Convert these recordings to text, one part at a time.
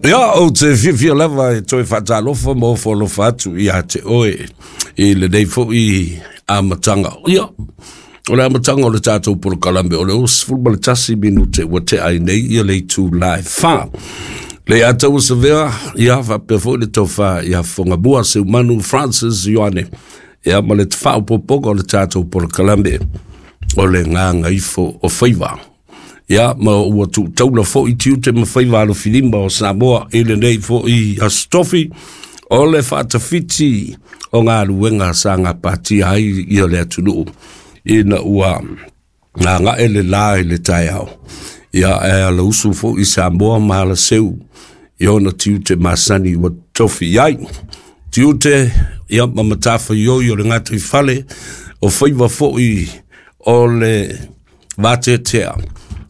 Ia, ou te fiafia lava e toe faatalofa ma ofo alofa atu ia te oe i lenei foi amataga. Ia, o le amataga o le tatou polokalame o le 61 minute ua tea ai nei ia le itula e 4. Le Ataua Savea, ia faapea foi le tofa ia Fogamua Seumanu Francis Ioane, ia ma le faaopoopoga o le tatou polokalame o le Gagaifo o Faiva. Ia, ma ua tuutaula foi tiute ma faiva alofilima o Samoa i lenei foi Aso Tofi, o le faatafiti o galuega sa gapatia ai ia le atunuu ina ua gagae le la i le taeao. Ia, ae alausu foi Samoa ma alaseu i ona tiute masani ua tofi i ai. Tiute, ia, ma matafaioi o le gataifale, o faiva foi o le vateatea.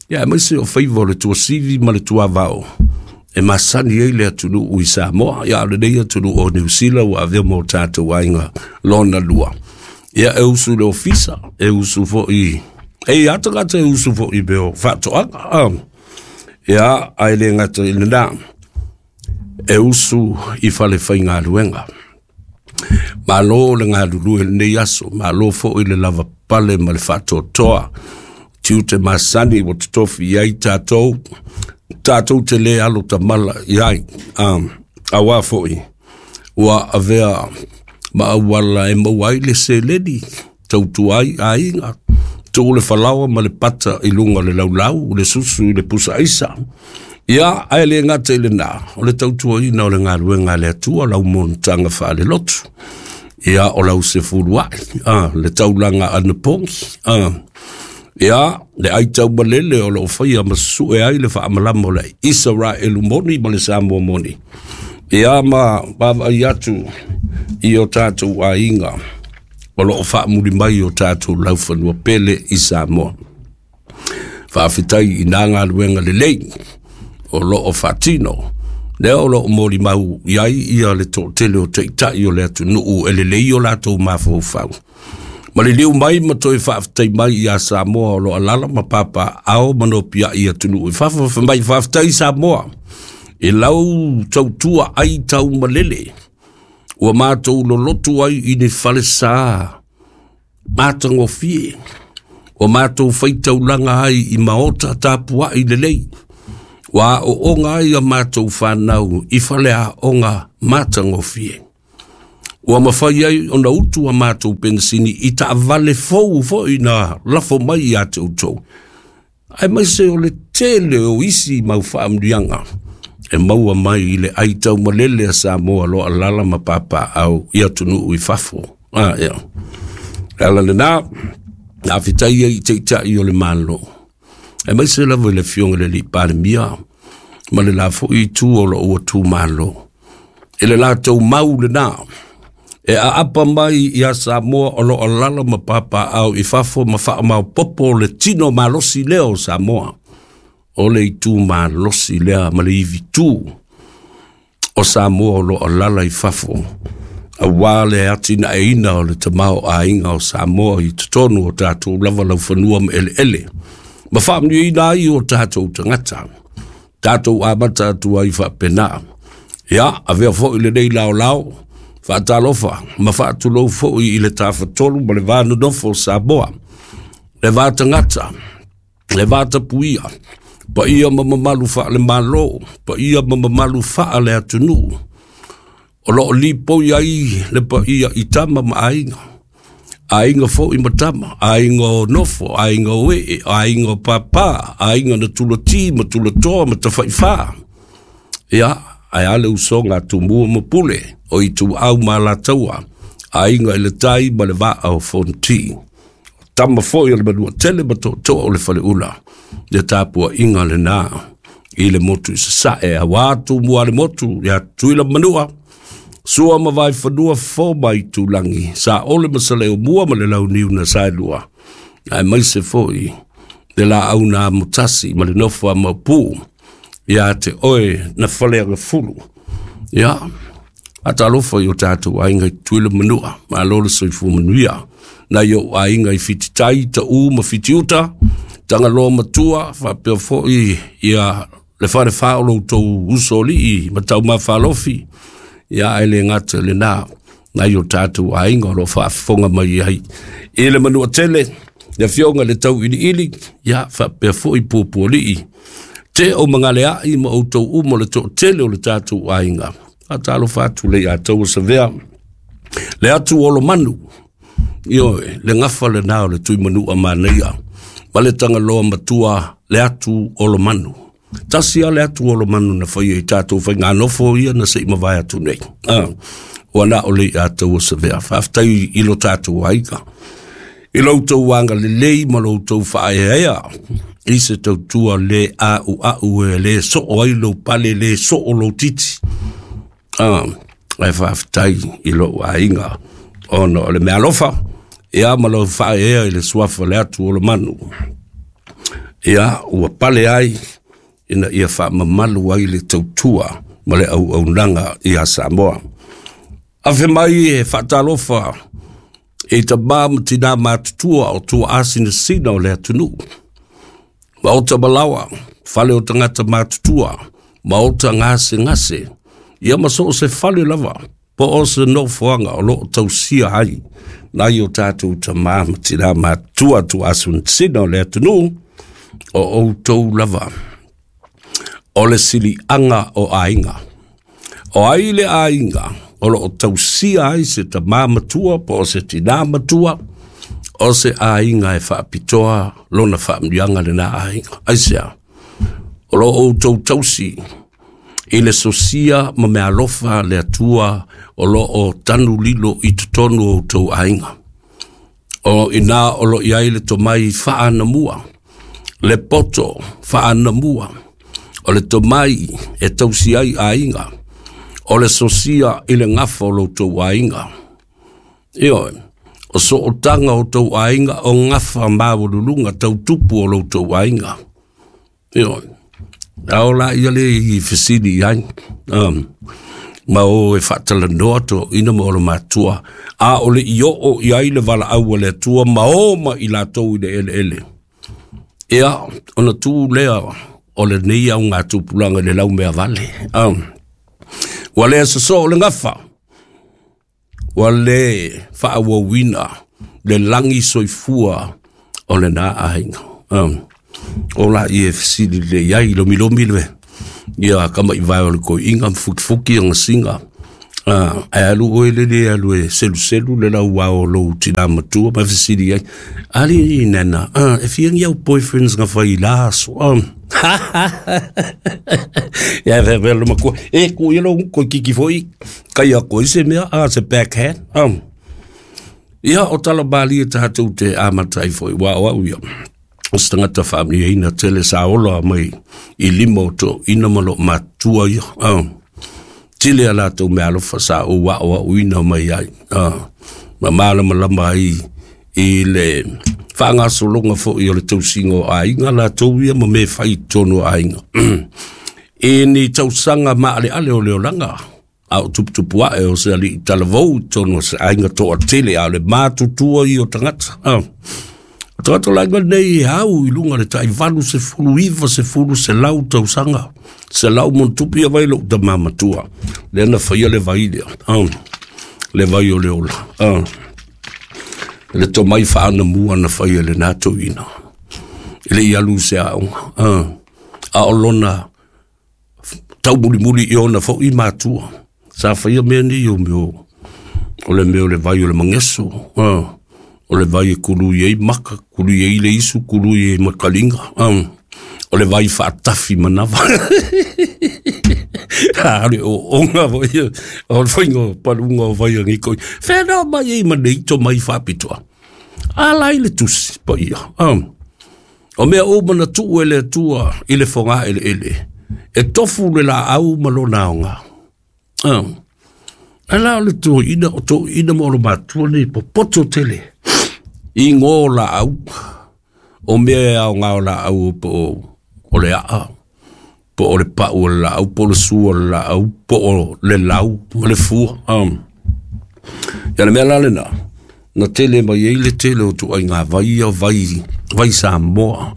Ia, aemaise o faiva o le tuasivi ma le tuavao e masani ai le atunuu i Samoa. Ia, o lenei atunuu o Niu Sila ua avea mo tatou aiga lona lua. Ia, e usu i le ofisa, e usu foi, e i a tagata e usu foi i mea o faatoaga. Ia, ae le gata i lena, e usu i fale faigaluega. Malo le galulue i lenei aso, malo foi le lava pale ma le faatoatoa. Tiute masani ua totofi i ai tatou, tatou te le alo tamala i ai. Auā foi, ua avea ma auala e maua ai le seleni, tautua ai aiga, tuu le falaoa ma le pata i luga o le laulau, le susu i le pusa aisa. Ia, ae le gata i lena, o le tautuaina o le galuega a le Atua, lau monotaga faalelotu. Ia, o lau sefuluai, le taulaga anapogi, ia, le ai taumalele o loo faia ma sue ai le faamalama o le Isaraelu moni ma le Samoa moni. Ia, ma vaavaai atu i o tatou aiga o loo faamuli mai o tatou laufanua pele i Samoa. Faafetai i nā galuega lelei o loo faatino, lea o loo molimau i ai ia le toatele o taitai o le atunuu e lelei o latou mafaufau. Ma liliu mai ma toe faafetai mai ia Samoa o lo alala ma papa ao ma nopiai atunuu i fafo, fai mai faafetai Samoa i lau tautua ai taumalele ua matou lolotu ai i ni falesa matagofie, ua matou faitaulaga ai i maota tapuai lelei, ua aooga ai a matou fanau i faleaoga matagofie. Ua mafai ai ona utu a matou penisini i taavale fou foi na lafo mai ia te outou. Aemaise o le tele o isi mau faamanuiaga e maua mai i le ai taumalele a Samoa lo alala ma papaau i atunuu i fafo. Ia. Le ala lena, faafetai ai i taitai o le Malo. Aemaise lava i le Afioga i le Alii Palemia ma le la foi itu o loo ua tumalo. I le latou mau lena, e aapa mai ia Samoa o loo alala ma papaau i fafo ma faamaopopo le tino malosi lea o Samoa. O le itu malosi lea ma le ivitu o Samoa o loo alala i fafo. Auā le atinaeina o le tamaoaiga o Samoa i totonu o tatou lava laufanua ma eleele. Ma faamanuiaina ai o tatou tagata. Tatou amata atu ai faapena. Ia, avea foi lenei laolao, faatalofa ma faatulou foi i le tafatolu ma le va nonofo o Samoa. Le va tagata, le va tapuia, paia ma mamalu faale-Malo, paia ma mamalu faale-atunuu. O loo lipoi ai le paia i tama ma aiga. Aiga foi ma tama, aiga o nofo, aiga o ee, aiga o papa, aiga na tulati ma tulatoa ma tafaifa. Ia, ae a le usoga a Tumua ma Pule, o Ituau ma Alataua, aiga i le tai ma le vaa o Fonoti. Tama foi o le Manuatele ma toatoa o le Faleula, le tapuaiga lena i le motu i Sasae, auā Tumua le motu, ia Tutuila ma Manua, Sua ma Vaifanua fo mai Tulagi, Saole ma Saleumua ma le Launiu na Saelua, aemaise foi le laau na amotasi ma le nofo a Maopu, ia te oe na Faleagafulu. Ia, faatalofa i o tatou aiga i Tutuila ma Manua, malo le soifua manuia. Nai ou aiga i Fititai, Taʻu ma Fitiuta, Tagaloa Matua, faapea foi ia le falefa o lo outou usoalii ma Taumafalofi, ia ae le gata i lena, nai o tatou aiga o lo o faafofoga mai ai i le Manuatele, le afioga i le Tauiliili, ia faapea foi Puapualii, te o Magaleai ma outou uma o le toatele o le tatou aiga. Faatalofa atu le ia tau Savea, le atu o Lomanu, ioe, le gafa lena o le Tuimanua manaia, ma le Tagaloa matua, le atu o Lomanu. Tasi lava le atu o Lomanu na faia i tatou faiganofo ia na se i mavae atu nei. Ua na o le ia tau Savea. Faafetai i lo tatou aiga, i lo outou agalelei ma lo outou faaeaea i se tautua le a'ua'u e le soo ai lou pale, le soo lou titi. Ae faafetai i lou aiga ona o le meaalofa, ia ma lou faaeaea i le suafa o le atu o Lomanu. Ia, ua pale ai ina ia faamamalu ai le tautua ma le auaunaga ia Samoa. Afe mai e faatalofa i tamā ma tinā matutua o tuaasinasina o le atunuu. Maota malawa, fale o tagata matutua, maota gasegase, ia ma so o se fale lava, po o se nofoaga o lo o tausia ai nai o tatou tamā ma tinā matutua tuaasinasina o le atunuu, o outou lava o le siliaga o aiga. O ai le aiga o lo o tausia ai se tamā matua po o se tinā matua, o se aiga e faapitoa lona faamanuiaga lena aiga. Aisea? O lo o outou tausi i le sosia ma meaalofa le Atua o lo o tanu lilo i totonu o outou aiga. O ina o lo o i ai le tomai faanamua, le poto faanamua, o le tomai e tausi ai aiga, o le sosia i le gafa o lo outou aiga. Ioe, o sootaga o outou aiga o gafa maualuluga tautupu o lo outou aiga. Ioe, a o la ia le i fesili i ai, ma o e faatalanoa toeaiina ma ona matua, a o le i oo i ai le valaau a le Atua ma o ma i latou i le eleele. Ia, ona tu lea o lenei augatupulaga i le laumeavale. Ua le sosoo le gafa, ua le faaauauina le lagi soifua o lena aiga. O la ia e fesili lelei ai, lomilomi le ia kamaivae o le toeaina ma fukifuki gasiga. Ae alu oe lele alu e seluselu le lauao o lou tinā matua ma fesili ai, ali nana, e fia ni au boyfriends nga fai i la aso? Ia e faapea le matua, e ku ia lou koe kiki foi, kai a koe se mea, se backhand. Ia o tala malie tatou te amata ai foi, ua o au ia, o se tagata faamanuiaina tele sa ola mai i lima o toeaiina ma loo matutua ia. Tele a latou meaalofa sa ou aoaoina mai ai, ma malamalama ai i le faagasologa foi o le tausiga o aiga latou ia ma mea fai i totonu o aiga. I ni tausaga maaleale o le olaga, a o tuputupu ae o se alii talavou i totonu o se aiga toatele, a o le matutua ia o tagata. O tagata o le aiga lenei e au i luga o le tai 80, 90, 100 tausaga, 100 ma ona tupu ia vai lou tama matua, lea na faia le vai lea, le vai o le ola. Le tomai faanamua na faia e lena toeaina, e le i alu i se aoga, a o lona taumulimuli i ona foi matua. Sa faia mea nei o mea o le mea o le vai o le mageso, o le vai e kului ai maka, kului ai le isu, kului ai makaliga, o le vai faatafi manava. A le ooga foi o le faiga o paluga o vai a nei toi. Whenā mai ai ma nei tomai faapitoa. A la i le tusi paia. O mea uma na tuu e le Atua i le fogaeleele, e tofu le laau ma lona aoga. Ae la o le toeaina, o toeaina ma ona matua nei popoto tele i igoa o laau, o mea e aoga o laau po o le aa, po o le pau o le laau, po o le sua o le laau, po o le lau ma le fua. Ia le mea la lena, na tele mai ai le tele o ituaiga vai ia, vai, vai Samoa,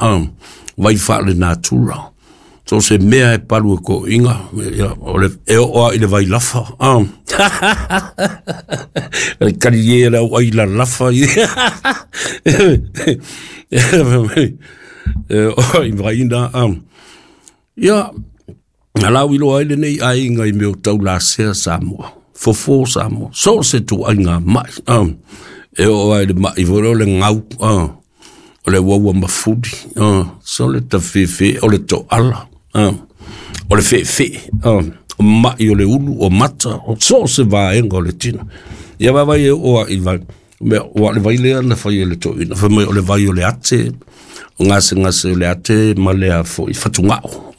vai faalenatura. So se mea e palu e toeaiina, ia, o le, e oo lava i le vailafa. Le talie e le au ai lalafa i i vaina. Ia, na lau iloa ai lenei aiga i mea o taulasea Samoa, fofo Samoa, so o se tuaiga mai. E oo ai le mai foi lea o le gau, o le uaua mafuli, so le tafefe, o le toala, o le feefee, o mai o le ulu, o mata, o so o se vaega o le tino. Ia vaavaai e oo lava i vai, mea, ua o le vai lea na fai e le toeaina, fai mai o le vai o le ate, o gasegase o le ate ma le a foi, fatugao.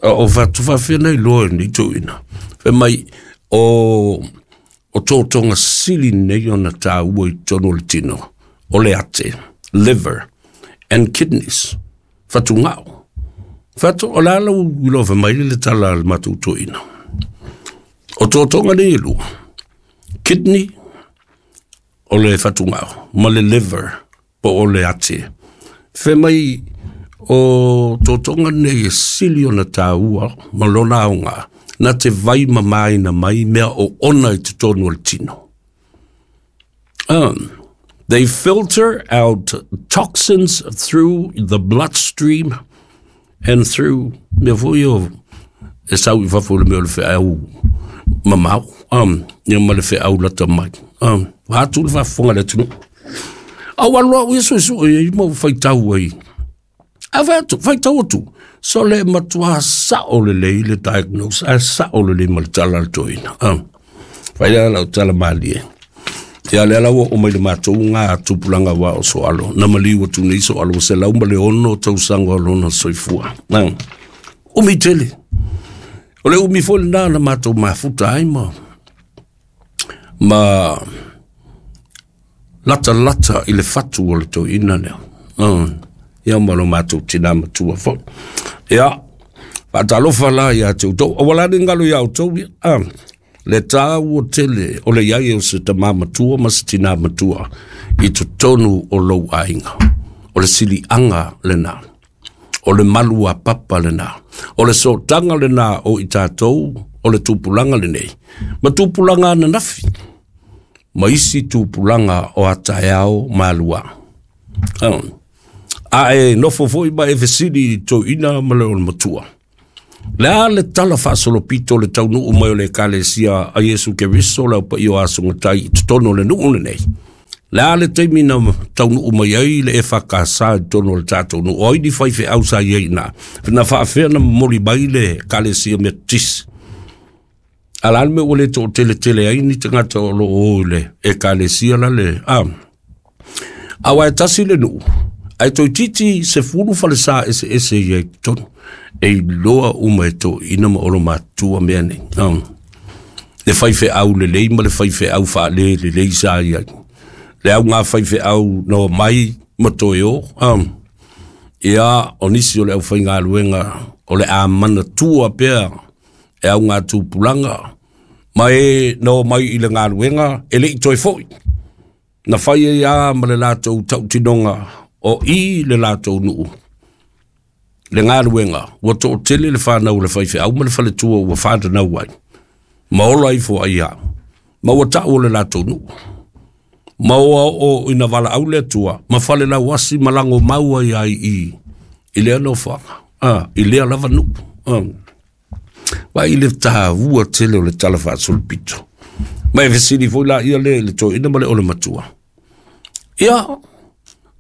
O fatu faafefea na iloa e lenei toeaina? Fai mai, o totoga sili nei ona taua i totonu o le tino, o le ate, liver and kidneys, fatugao. Fatu, o le a lau iloa fai mai le tala a le matou toeaina? O totoga nei e lua, kidney, o le fatugao, ma le liver, po o le ate. Fai mai o totoga nei e sili ona taua ma lona aoga, na te vai mamaina mai mea o ona i totonu o le tino. They filter out toxins through the bloodstream and through mea foi o e sau i fafo i le mea o le feau mamao, ia ma le feau lata mai. Atu le faafofoga a le atunuu. Au alu au ia suesue ai ma ou faitau ai. A fai atu, faitau atu, so le matua sao lelei le diagnose, ae sao lelei ma le tala a le toeaina. Fai lea lau tala malie. Ia lea la ua oo mai le matou ngā tupulaga wa o Soalo. Na maliu atu nei Soalo ua 106 tausaga o lona soifua. Umi tele. O le umi foi lena na matou mafuta ai ma latalata i le fatu o le toeaina lea. Ia ma lo matou tina matua foi. Ia, faatalofa la ia te outou. Aua la ne i galo ia outou, ia, le taua tele o le iai o se tamā matua ma se tinā matua i totonu o lou aiga. O le siliaga lena. O le malu a papa lena. O le sootaga lena o i tatou o le tupulaga lenei. Ma tupulaga ananafi. Ma isi tupulaga o a taeao ma alua. A e nofo foi ma e fesili i toeaina ma le matua. Le a le tala faasolopito o le taunuu mai o le Ekalesia a Iesu Keriso le Au Paia o Aso Gatai i totonu o le nuu lenei? Le a le taimi na taunuu mai ai le EFKS i totonu o le tatou nuu? O ai ni faifeau sa i ai i ina? Na faafefea na momoli mai le Ekalesia Metotisi? A o le a le mea ua le toateletele ai ni tagata o lo o i le Ekalesia la le... A, aua e tasi le nuu, ae toeitiiti 10 falesa eseese i ai i totonu. E iloa uma e toeaiina ma olomatua mea nei. Le faifeau lelei ma le faifeau faale lelei sa i ai. Le au ngā faifeau na omai ma toe o. Ia, o nisi o le aufaigaluega o le a manatua pea e au ngā tupulaga ma e na omai i le galuega e le i toe foi. Na fai ai lava ma le latou tautinoga o i le latou nuu le galuega, ua toatele le fanau a le faifeau ma le faletua ua fananau ai, ma ola ifo ai lava, ma ua tau o le latou nuu. Ma ua oo ina valaau le Atua ma falelauasi ma lagomau ai lava i i lea nofoaga, i lea lava nuu. Vaai i le taua tele o le tala faasolopito. Ma e fesili foi laia lea i le toeaina ma le ole matua. Ia,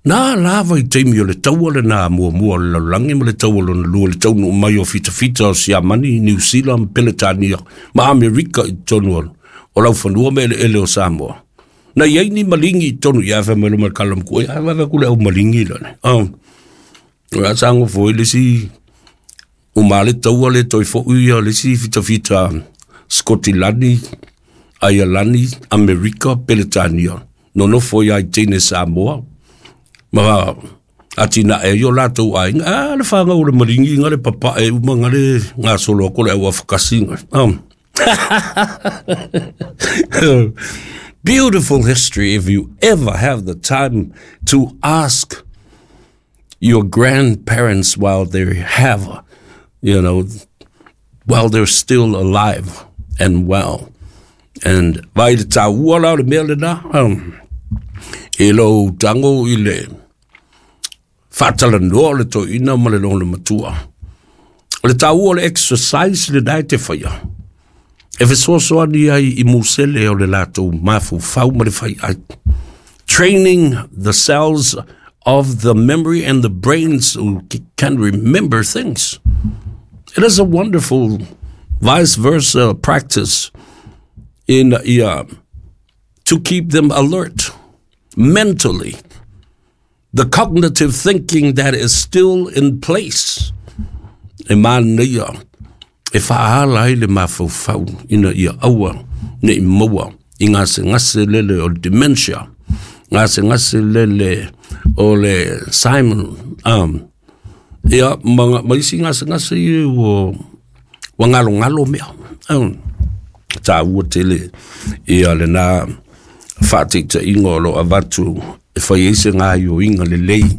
na lava i taimi o le taua lena muamua o le lalolagi ma le taua lona lua, le taunuu mai o fitafita o Siamani, Niu Sila ma Peletania ma Amerika i totonu o laufanua ma eleele o Samoa. Na i ai ni maligi i totonu, ia fai mai loa ma le kala matua, ia vaai atu le au maligi lea. O le a sago foi le isi uma le taua le toe foi ia le isi fitafita Skotilani, Aialani, Amerika, Peletania, nonofo ia i teine Samoa, ma atinae ai o latou aiga, a le fanau o le maligi nga le papae uma nga le gasolo atu o le au afakasi nga. Beautiful history if you ever have the time to ask your grandparents while they have while they're still alive and well. And vai le tāua la o le mea lena, e lou tago i le faatalanoa o le toeaina ma le lona matua. O le taua o le exercise lena e te faia, e fesoasoani ai i musele o le latou mafaufau ma le faiai. Training the cells of the memory and the brains who can remember things. It is a wonderful vice versa practice in to keep them alert mentally. The cognitive thinking that is still in place. E manaia e faaala ai le mafaufau ina ia aua ne i maua i gasegase lele o le dementia, gasegase lele o le Simon, ia ma isi gasegase ia ua galogalo mea. Taua tele ia lena faataitaiga o lo o avatu e fai ai se gaoioiga lelei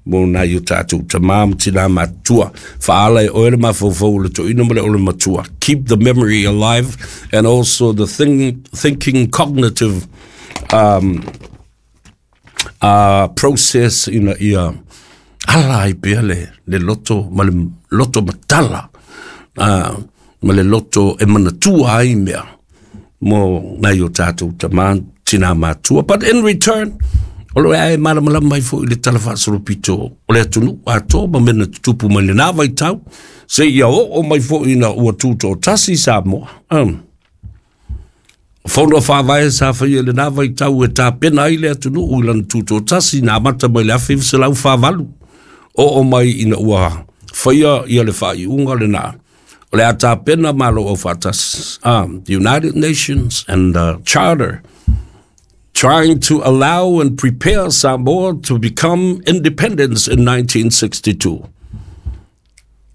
mo nai o tatou tamā ma tinā matutua. Faaala e oe le mafaufau o le toeaina ma le ole matua. Keep the memory alive and also the thinking cognitive process ina ia ala ai pea le loto ma le loto matala ma le loto e manatua ai mea mo nai o tatou tamā tinā matua. But in return, o lo e malamalama mai foi le tala faasolopito o le atunuu atoa ma mea na tutupu mai lena vaitau, seia oo mai foi ina ua tutoatasi Samoa. Fono faavae sa faia i lena vaitau e tapena ai le atunuu i lana tutoatasi na amata mai le 1948, oo mai ina ua faia ia le faaiuga lena. O le a tapena Malo Aufaatasi, the United Nations and the Charter, trying to allow and prepare Samoa to become independence in 1962.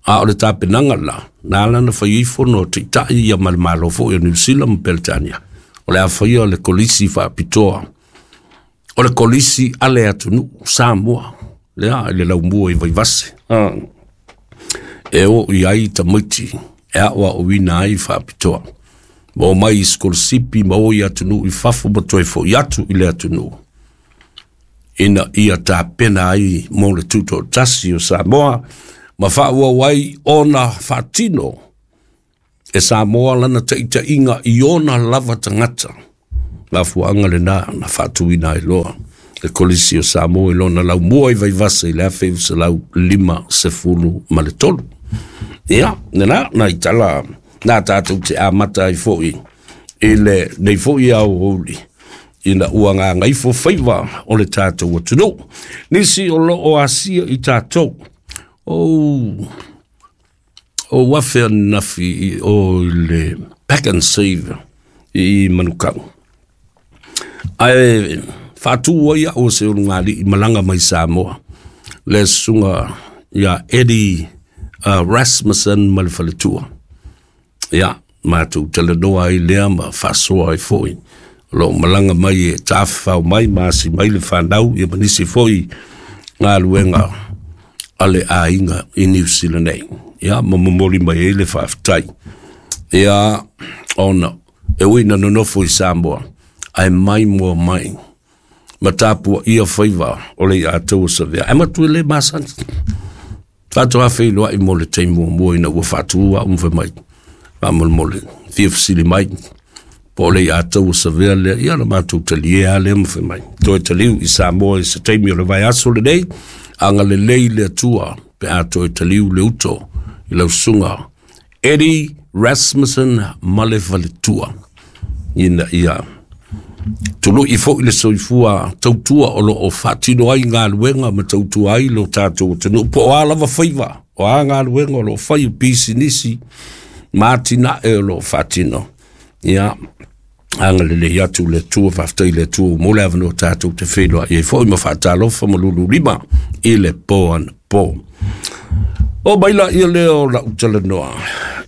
A o le tapenaga la, na ala ona fai ai fono a Taitai ia ma le Malo foi o Niu Sila ma Peretania, o le a faia le kolisi faapitoa, o le kolisi a le atunuu Samoa, lea i le laumua i Vaivase, e o i ai tamaiti e aoaoina ai faapitoa, ma omai i sikolasipi ma o i atunuu i fafo ma toe foi atu i le atunuu, ina ia tapena ai mo le tutoatasi o Samoa ma faaauau ai ona faatino e Samoa lana taitaiga i ona lava tagata. Mafuaaga lena na faatuina ai loa le Kolisi o Samoa i lona laumua i Vaivase i le 1953. Ia, lena, nai tala na tatou te amata ai foi i lenei foi aoauli ina ua gagaifo faiva o le tatou atunuu. Nisi o lo o asia i tatou, o afe ananafi i o i le Pack and Save i Manukau. Ae faatu ai au o se ulugalii malaga mai Samoa, le susuga ia Eddie Rasmussen ma le faletua. Ia, matou talanoa ai lea ma faasoa ai foi. O lo o malaga mai e tafafao mai ma asi mai le fanau ia ma nisi foi galuega a le aiga i Niu Sila nei. Ia, ma momoli mai ai le faafetai. Ia, ona e ui ina nonofo i Samoa, ae mai moa mai ma tapuaia faiva o le iātou o Savea. Ae matua e le masani. Faatoa feiloai mo le taimi muamua ina ua faatu au ma fai mai, faamolemole, fia fesili mai, po o le iātou o Savea lea, ia na matou talie lava lea ma fai mai, toe taliu i Samoa i se taimi o le vaiaso lenei, agalelei le Atua pe a toe taliu le uto i lau susuga Eddie Rasmussen ma le faletua, ina ia tului foi le soifua tautua o lo o faatino ai galuega ma tautua ai lo tatou atunuu, po o a lava faiva, o a galuega o lo o fai, o pisinisi ma atinae o lo o faatino. Ia, agalelei atu le Atua, faafetai i le Atua mo le avanoa tatou te feiloai ai foi ma faatalofa ma lululima i le po anapo. O mai la ia lea o lau talanoa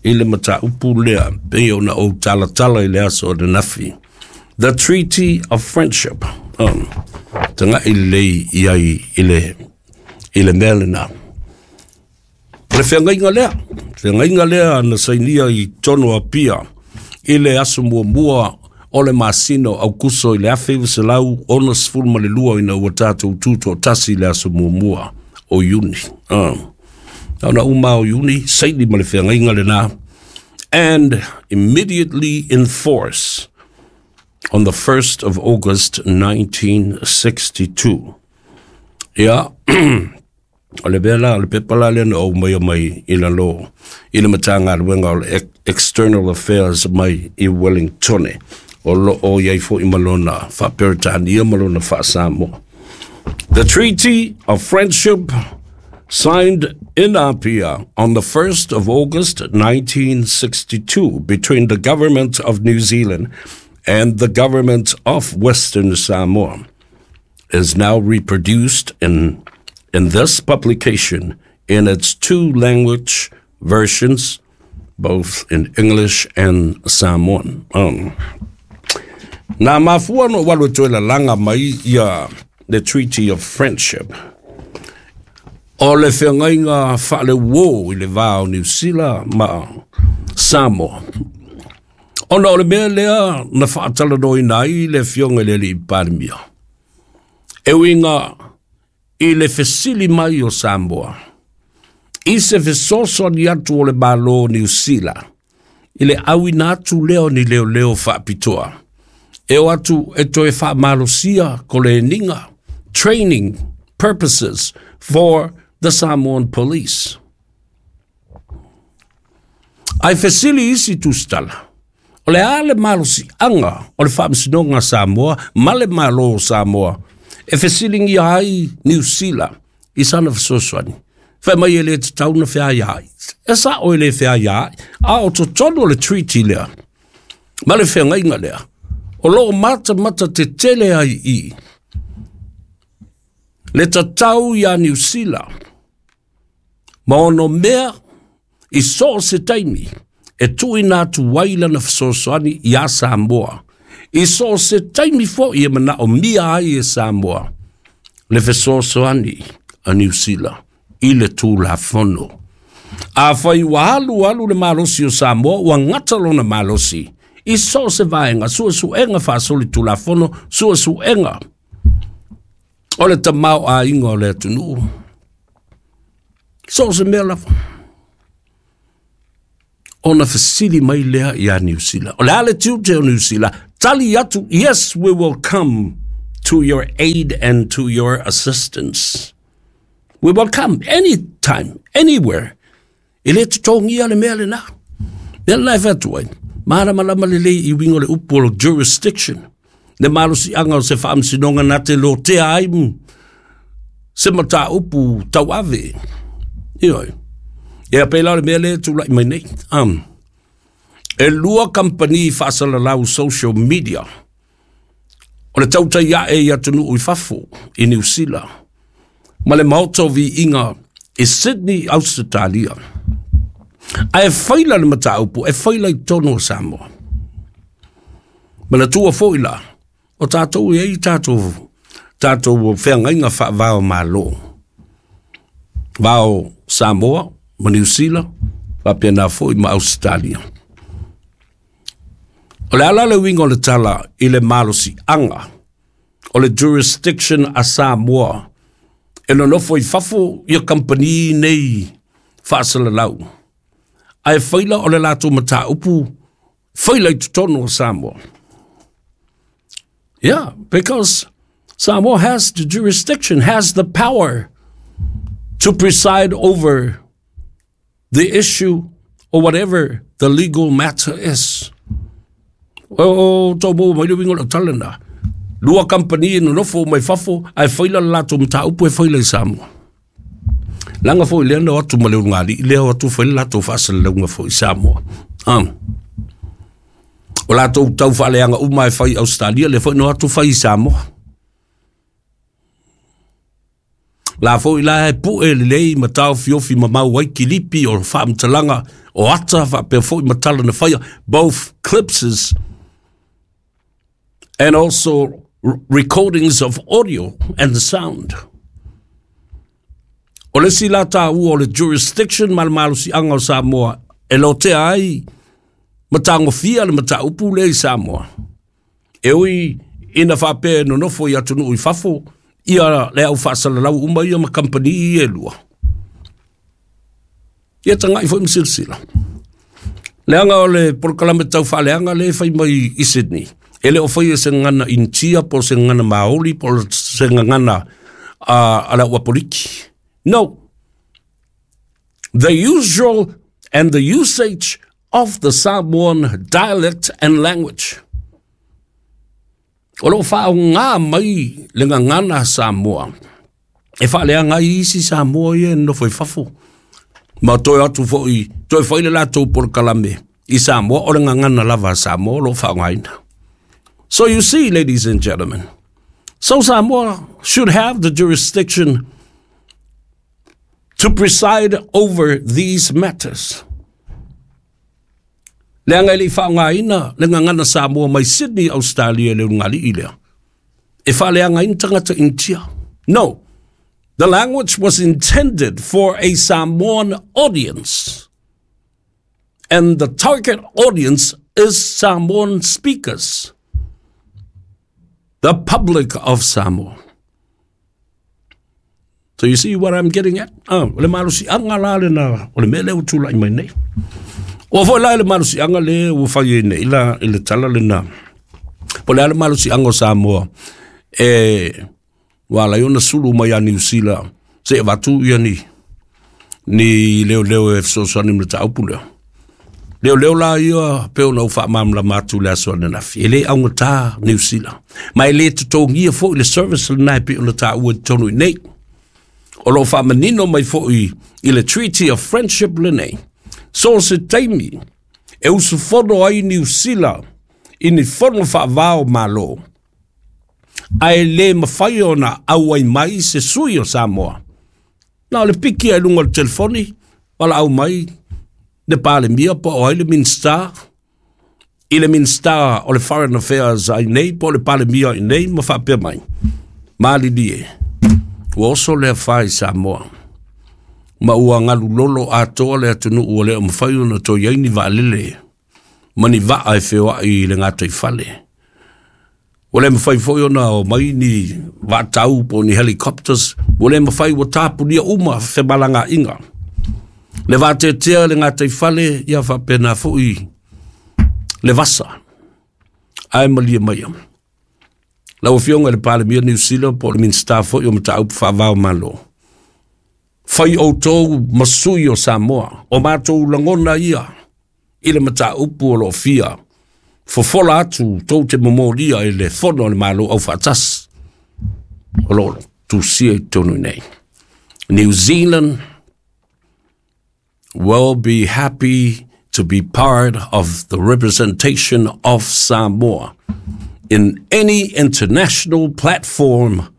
i le mataupu lea pei ona ou talatala i le aso ananafi. The Treaty of Friendship. Taga'i lelei i ai i le mea lena. O le feagaiga lea, feagaiga lea na sainia i totonu o Apia i le aso muamua o le masina o Aukuso i le 1962 ina ua tatou tutoatasi i le aso muamua o Iuni. Na uma o Iuni, saini ma le feagaiga lena, and immediately in force on the 1st of August 1962. Ia, o le mea la, o le pepa la lea na ou aumaia mai i lalo i le Matagaluega o le External Affairs mai i Wellingtone. O lo o i ai foi ma lona faa-Peretania ma lona faa-Samoa. The Treaty of Friendship signed in Apia on the 1st of August 1962 between the government of New Zealand and the government of Western Samoa is now reproduced in this publication in its two language versions, both in English and Samoan. Na mafua ona ou alu e toe lalaga mai ia the Treaty of Friendship, o le feagaiga faaleuō i le va o Niu Sila ma Samoa, ona o le mea lea na faatalanoaina ai le afioga i le Alii Palemia, e uiga i le fesili mai o Samoa i se fesoasoani atu o le Malo o Niu Sila i le auina atu lea o ni leoleo faapitoa e o atu e toe faamalosia koleniga, training purposes for the Samoan police. Ae fesili isi tusitala, o le a le malosiaga o le Faamasinoga a Samoa ma le Malo o Samoa e fesiligia ai Niu Sila i sana fesoasoani? Fai mai e le tatau ona feaiaai. E sao e le feaiaai, a o totonu o le treaty lea ma le feagaiga lea, o lo o matamata tetele ai i le tatau iā Niu Sila ma ono mea i so o se taimi e tuuina atu ai lana fesoasoani iā Samoa, i so o se taimi foi e manaomia ai e Samoa le fesoasoani a Niu Sila i le Tulafono. Afai ua alu alu le malosi o Samoa ua gata lona malosi i so o se vaega, suesuega faasolitulafono, suesuega o le tamaoaiga o le atunuu, so o se mea lava, ona fesili mai lea iā Niu Sila, o le a le tiute o Niu Sila? Tali atu, yes, we will come to your aid and to your assistance. We will come anytime, anywhere. E le totogia le mea lena. Mea lena e fai atu ai, malamalama lelei i uiga o le upu o le jurisdiction, le malosiaga o se faamasinoga na te lotea ai se mataupu tauave. Ioe. Ia pēlā o le mea lea e tulai mai nei. E lua kamupani faasalalau social media o le tautai ae i atunuu i fafo i Niu Sila ma le Maota o Viiga i Sydney, Ausetalia. Ae faila le mataupu, e faila i totonu o Samoa. Manatua foi la, o tatou e i ai tatou, tatou feagaiga faava o Malo. Va o Samoa ma Niu Sila, faapena foi ma Ausetalia. O le a la le uiga o le tala i le malosiaga o le jurisdiction a Samoa e nonofo i fafo ia kamupani nei faasalalau, ae faila o le latou mataupu faila i totonu o Samoa? Yeah, because Samoa has the jurisdiction, has the power to preside over the issue or whatever the legal matter is. O tau maua mai le uiga o lau tala lena. Lua kamupani e nonofo mai fafo ae faila le latou mataupu e faila i Samoa. Leaga foi lea na o atu ma le ulugalii lea o atu fai le latou faasalalauga foi i Samoa. O latou tau faaleaga uma e fai i Ausetalia lea foi na o atu fai i Samoa. La foi la e pue lelei ma taofiofi ma mau ai kilipi o faamatalaga o ata faapea foi ma tala na faia, both clipses and also recordings of audio and the sound. O le isi la taua o le jurisdiction ma le malosiaga o Samoa e lotea ai ma tagofia le mataupu lea i Samoa. E ui ina faapea e nonofo i atunuu i fafo ia le au faasalalau uma ia ma kamupani ia e lua. Ia tagai foi ma silasila. Leaga o le polokalame tau faaleaga lea e fai mai i Sydney, e le o faia se gagana Initia po o se gagana Maori po o se gagana a le au Apoliki. No. The usual and the usage of the Samoan dialect and language. O lo o faaaoga mai le gagana Samoa e faaleaga ai isi Samoa ia e nonofo i fafo. Ma toe atu foi, toe fai le latou polokalame i Samoa, o le gagana lava a Samoa o lo o faaaogaina. So you see, ladies and gentlemen, so Samoa should have the jurisdiction to preside over these matters. Leaga e le i faaaogaina le gagana Samoa mai Sydney, Australia le ulugalii lea. E faaleagaina tagata Initia. No. The language was intended for a Samoan audience. And the target audience is Samoan speakers. The public of Samoa. So you see what I'm getting at? Ah, o le malosiaga la lena, o le mea lea ua tulai mai nei. Ua foi la i le malosiaga le ua fai ai nei la i le tala lena. Po o le a le malosiaga o Samoa e ua ala ai ona sulu mai ia Niu Sila se i avatu ia ni ni leoleo e fesoasoani ma le mataupu lea. Leoleo la ia pei ona ou faamalamalama atu i le aso ananafi, e le augata Niu Sila, ma e le totogia foi le service lena e pei ona taua i totonu i nei. O lo o faamanino mai foi i le Treaty of Friendship lenei, so o se taimi e usufono ai Niu Sila i ni fono faava o Malo, ae le mafai ona auai mai se sui o Samoa. Na o le piki ai luga o le telefoni, valaau mai le Palemia po o ai le Minisita, i le Minisita o le Foreign Affairs ai nei po o le Palemia i nei ma faapea mai, malilie, ua oso le afa i Samoa, ma ua galulolo atoa le atunuu ua le o mafai ona toe i ai ni vaalele ma ni vaa e feoai i le gataifale. Ua le mafai foi ona o mai ni vaatau po o ni helicopters, ua le mafai ua tapunia uma femalagaaiga. Le vateatea le gataifale, ia faapena foi le vasa. Ae malie maia. Lau Afioga i le Palemia o Niu Sila po o le Minisita foi o Mataupu Faava o Malo, fai outou ma sui o Samoa, o matou lagona ia i le mataupu o lo o fia fofola atu tou te momolia i le fono a le Malo Aufaatasi o lo o tusia i totonu i nei. New Zealand will be happy to be part of the representation of Samoa in any international platform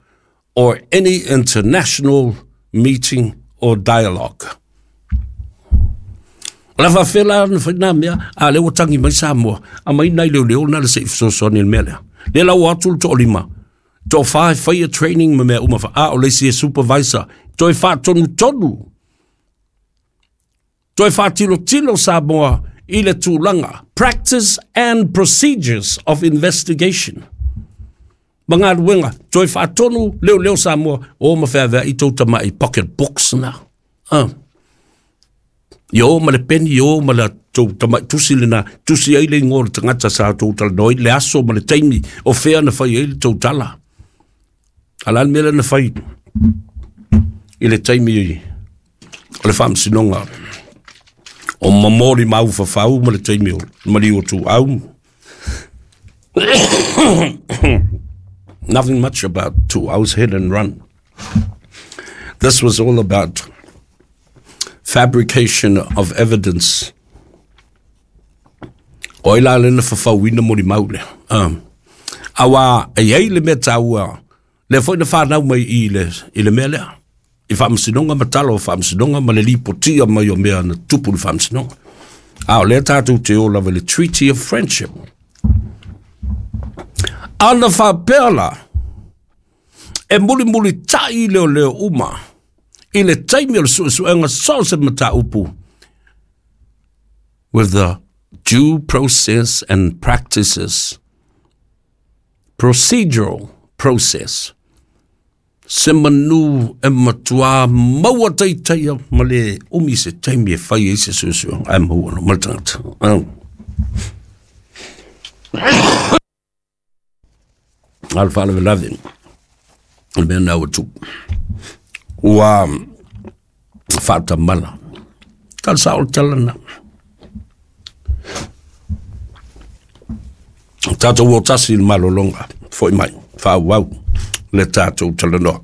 or any international meeting or dialogue. O le faafefea la ona fai nā mea, a lea ua tagi mai Samoa, aumai nai leoleo na le se i fesoasoani i le mea lea. Lea la ua atu le toalima, toafa e faia training ma mea uma, a o le isi e supervisor, toe faatonutonu, toe faatilotilo Samoa i le tulaga, practice and procedures of investigation. Ma galuega, toe faatonu leoleo Samoa, o ma feaveai tou tamai pocket books na. Ah. Ia o ma le peni, ia o ma le tou tamai tusi lena, tusi ai le ingoa o le tagata sa tou talanoa ai, le aso ma le taimi o fea na fai ai le tou tala. A o le a le mea lea na fai i le taimi o le faamasinoga o momoli maufafau ma le taimi o maliu o Tuau. Nothing much about Tuau's hit and run. This was all about fabrication of evidence. O ai la le na fafauina molimau lea. Aua e i ai le mea taua, lea foi na fanau mai i le, i le mea lea. I faamasinoga ma tala o faamasinoga ma le lipotia mai o mea na tupu i le faamasinoga. A o lea tatou te o lava i le Treaty of Friendship. A na faapea la, e mulimulitai leoleo uma I le taimi o le suesuega so o se mataupu with the due process and practices, procedural process, se manu e matua maua taitaia ma le umi se taimi e fai ai se suesuega ae maua no ma le tagata. A le faalavelave o le mea na ua tupu ua faatamala tala sao le tala na tatou o tasi i le malologa foi mai faaauau le tatou talanoa.